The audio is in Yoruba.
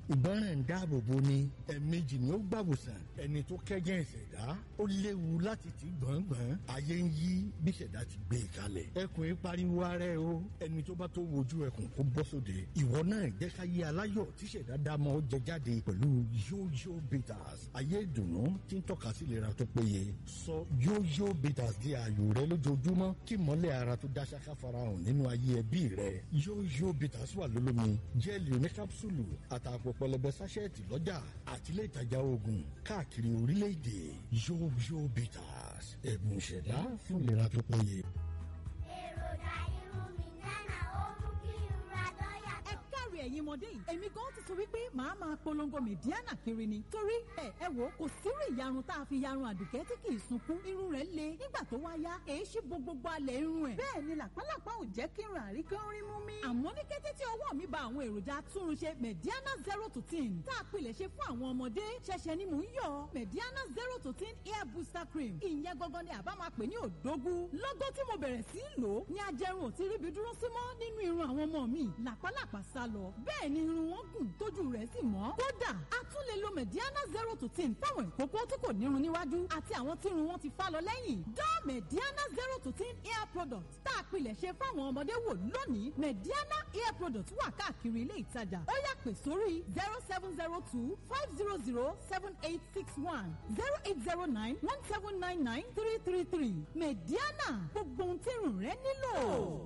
Ìgbọràn ń dáàbò bo ni, ẹ̀ẹ̀mejì ni ó gbàwòsàn. Ẹni tó kẹ́gàn ìṣẹ̀dá ó léwu láti ti gbọ̀ngbọ̀n. Ayé ń yí bí ìṣẹ̀dá ti gbé e kalẹ̀. Ẹkùn yìí pariwo ara ẹ o. Ẹni tó bá tó wojú ẹkùn kó bọ́ sóde. Ìwọ náà jẹ́ ká yé aláyọ̀ tí ìṣẹ̀dá dámọ̀ ó jẹ jáde pẹ̀lú Yóyó Bitters. Ayé ìdùnnú tí ń tọ́ka sí ìlera tó péye. Sọ Yóyó Bitters di ààyò rẹ lójoojúmọ́ kí mọ́lẹ̀ ara tó dá ṣáká farahàn nínú ayé ẹbí rẹ. Yóyó Bitters wà lólómi, jẹ́ẹ̀lì oníkápsùlù àtàpọ̀ pẹlẹbẹ sáṣẹ́ẹ̀tì lọ́jà àti ilé ìtajà oògùn káàkiri orílẹ̀-èdè. Yóyó Bitters, ẹ̀bùn ìṣẹ̀dá fún ìlera tó péye. Èròjà irun mi nánà ó mú kí irun adán Ẹ yàtọ̀. káre ẹ̀yin ọmọdé yìí, èmi gan ti sọ wípé màá máa polongo Mẹ̀díánà kiri ni, torí ẹ wò ó, kò sírú ìyarun tá a fi yarun Àdùkẹ́ tí kì í sunkún. Irun rẹ̀ le, nígbà tó wá yá èéṣí bo gbogbo alẹ̀ irun ẹ̀, bẹ́ẹ̀ ni làpálàpá ò jẹ́ kí irun àríkán rí mú mi. Àmọ́ ní kété tí ọwọ́ mi ba àwọn èròjà atúnrunṣe Mẹ̀díánà 0 to 10 tá a pilẹ̀ ṣe fún àwọn ọmọdé, ṣẹ̀ṣẹ̀ ni mò ń yọ Mẹ̀díánà 0 to 10 hair booster cream. Ìyẹn gangan ni àbá máa pè ní òdógún. Lọ́gọ́ tí mo bẹ̀rẹ̀ sí í lò ó ní ajẹrun ò ti ríbi dúró sí mọ́ nínú irun àwọn ọmọ mi. Làpálàpá sá lọ, bẹ́ẹ̀ ni irun wọn gùn tójú rẹ̀ sì mọ́. Kódà a tún lè lo Mẹ̀díánà 0 to 10 fáwọn ìkókó tí kò nírun níwájú àti àwọn tí irun wọn ti fá lọ lẹ́yìn. Dán Mẹ̀díánà 0 to 10 hair product tá a pilẹ̀ ṣe fáwọn ọmọdé wò lónìí. Mẹ̀díánà hair product wà káàkiri ilé ìtajà. Ó yá, pè sórí 07025007861, 08091799333. Mẹ̀díánà, gbogbo ohun tí irun rẹ nílò.